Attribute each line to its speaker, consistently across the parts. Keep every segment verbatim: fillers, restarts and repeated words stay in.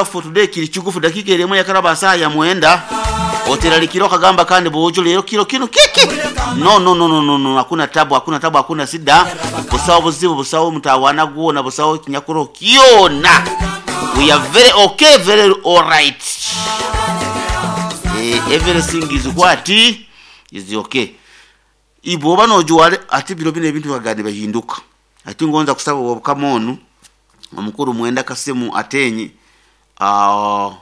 Speaker 1: For today kiri kigufu, dakika eremu yakaraba saa ya mwenda oteralikira okagamba kandi bojo lero kiro kino kiki. No, no, no, no, no, no, hakuna tabu, hakuna tabu, hakuna sida, busawo buzibu, busawo mutawana gwona, busawo kinyakuro kyona. We are very okay, very alright. Eh, everything is what is okay. Ibo nojuwale ati biro bino ebintu bagandi bahinduka ati ngonza kusaba obukama onu omukuru Mwenda Kasimu Atenyi, uh,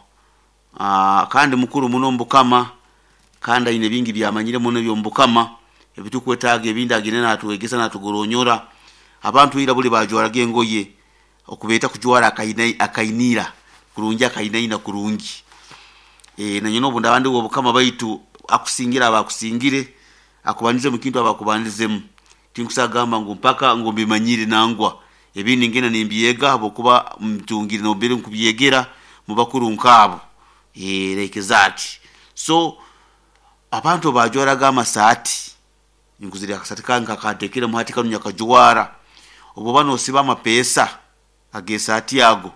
Speaker 1: uh, kandi mukuru muno mbukama, kandi aine bingi byamanyire muno byombukama ebitukwetaaga ebindi agine natwegesa natugoronyora. Abantu ira buli bajwaraga engoye okubeeta kujwara akaina akainira kurungi, akainaina kurungi. E, nanye nobu ndabandi obukama baitu akusingira abakusingire, akubanize mu kintu abakubanizemu. Tinkusagamba ngu mpaka ngu mbimanyire, nangwa ebindi ngena nimbyega habwokuba mtungire nobere nkubyegera mu bakuru nkabo. E, like that. So abantu bajwaraga amasaati, nkuzira akasati kange kakatekere muhati kanu nyakajwara. Obo bano osiba amapesa agesaati yago,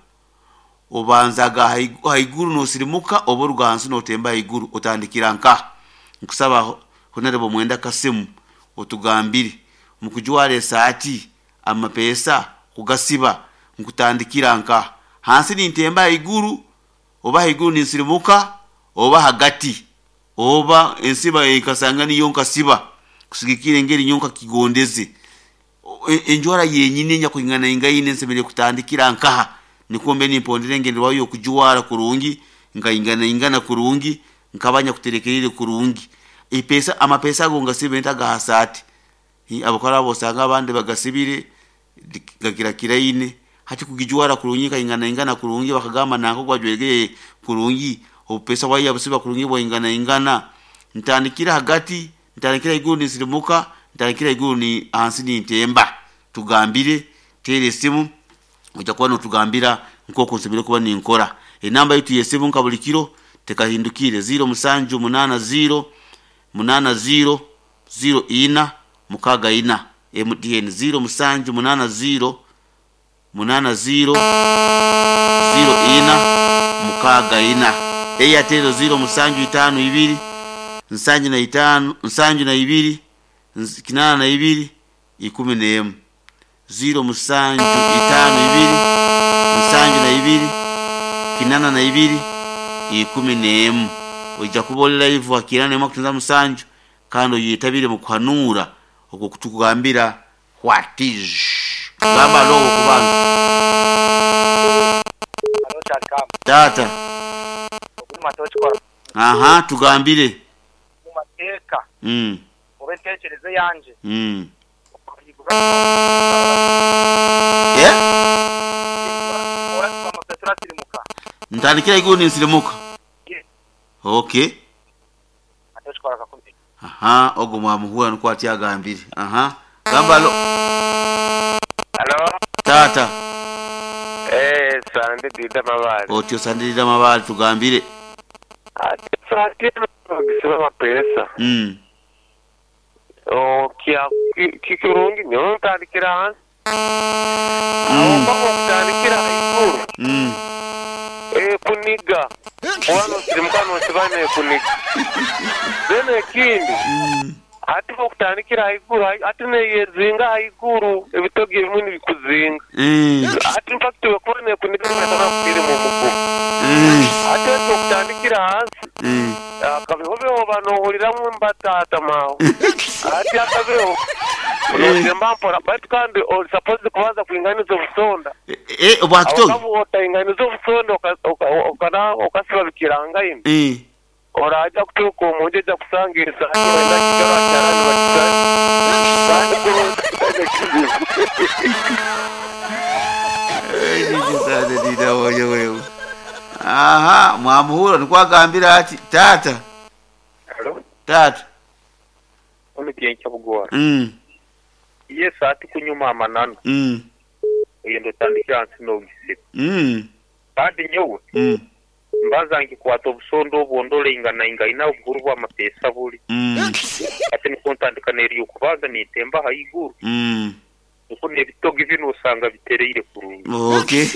Speaker 1: obanzaga haiguru nosirimuka, oba oruga hansi notemba haiguru, otandikira nka. Nkusaba Honorable Mwenda Kasimu otugambire mukujwara esaati amapesa kugasiba nkutandikira nka hansi nintemba haiguru, oba haiguru ninsirimuka, oba hagati, oba ensiba ekasanga niyo nkasiba kusigikira engeri nyo nkakigondeze. Enjwara yenyine nyakuingana ingaine nsemere kutandikira nkaha nikombe nimpondere engeri wayo okujwara kurungi, nkaingana ingana kurungi, nkabanya kuterekerere kurungi. Ipesa amapesa ago ngasibe ntaga hasati abakora bosanga abandi bagasibire gagira kiraine hati kugijwara kurungi kaingana ingana kurungi, bakagamba nanko gwajwegeye kurungi, obupesa bwayo busiba kurungi bwaingana ingana. Ntandikira hagati, ntandikira iguru nisirimuka, ntandikira iguru ni hansi nintemba. Tugambire, tere esimu ojja kuba notugambira nk'oku nsemere kuba ninkora. Enamba yitu yesimu nka buli kiro tekahindukire, ziro musanju munana ziro munana ziro ziro ina mukaga ina. M T N ziro musanju munana ziro munana ziro ziro ina mukaga ina. Airtel ziro musanju itano ibiri nsanju na itano nsanju na ibiri kinana na ibiri ikumi n'emu, ziro musanju itano ibiri nsanju na ibiri kinana na ibiri ikumi n'emu. Ojja kuba oli live wa kinana n'emu akutunza musanju, kandi oyetabire mu kuhanuura okwo kutukugambira what is gamba lowo kubantu. Tata. Aha, tugambire.
Speaker 2: Mu mateeka
Speaker 1: mm.
Speaker 2: oba enteekereza yanje,
Speaker 1: mm. yeah?
Speaker 2: Turasirimuka.
Speaker 1: Ntandikira iguru ninsirimuka. Okay.
Speaker 2: Atokikora kakumbi.
Speaker 1: Aha, ogwo mwamuhura nukwo ati agambire. Aha, gamba lo.
Speaker 3: Halo?
Speaker 1: Tata.
Speaker 3: Eh, sande dida mabali.
Speaker 1: Otyo sandirira mabali, tugambire.
Speaker 3: Ati sati gisiba mapesa.
Speaker 1: mm.
Speaker 3: O kya kikirungi nyo ntandikira hansi.
Speaker 1: Mm.
Speaker 3: Aho kutandikira haiguru.
Speaker 1: Mm.
Speaker 3: Eh, kuniga. Wano sirimuka nosiba ne kuniga. Then ekindi.
Speaker 1: Mm.
Speaker 3: Ati okutandikira haiguru ati neyezinga haiguru ebitogi ebimwe nibikuzinga.
Speaker 1: Mm.
Speaker 3: Ati in fact wekuba nekuniga nekana kukiri mu mugumu.
Speaker 1: Mm.
Speaker 3: Ati okutandikira hansi.
Speaker 1: Mm.
Speaker 3: Akabeho banohuriramu mbatata mawe ati akabeho notemba mpora, baitu kandi oli supposed kubanza kuinganiza obusonda.
Speaker 1: Eh, obwakitogi.
Speaker 3: Awakabu otainganiza obusonda okasiba bikirangaine,
Speaker 1: eh
Speaker 3: oraja kutuuka omunju ojja kusanga esaati wenda kigaro akyarani bakisale kandi kurungi kizibu.
Speaker 1: Wewe, aha, mwamuhura nukwo agambira ati tata.
Speaker 2: Halo?
Speaker 1: Tata.
Speaker 2: Omutyenka bugora.
Speaker 1: mm.
Speaker 2: Iye saati kunyuma amananu,
Speaker 1: mm.
Speaker 2: oyenda otandikira hansi n'ogisiba.
Speaker 1: mm.
Speaker 2: Kandi nyowe
Speaker 1: mm.
Speaker 2: mbanza nkikwata obusondo obwo ndoleingana ingaina obuhuru bw'amapesa buli,
Speaker 1: mm.
Speaker 2: ate nikwo ntandika neryo okubanza nintemba haiguru,
Speaker 1: mm.
Speaker 2: niko n'ebitogi bino osanga bitereire kurungi.
Speaker 1: Okay.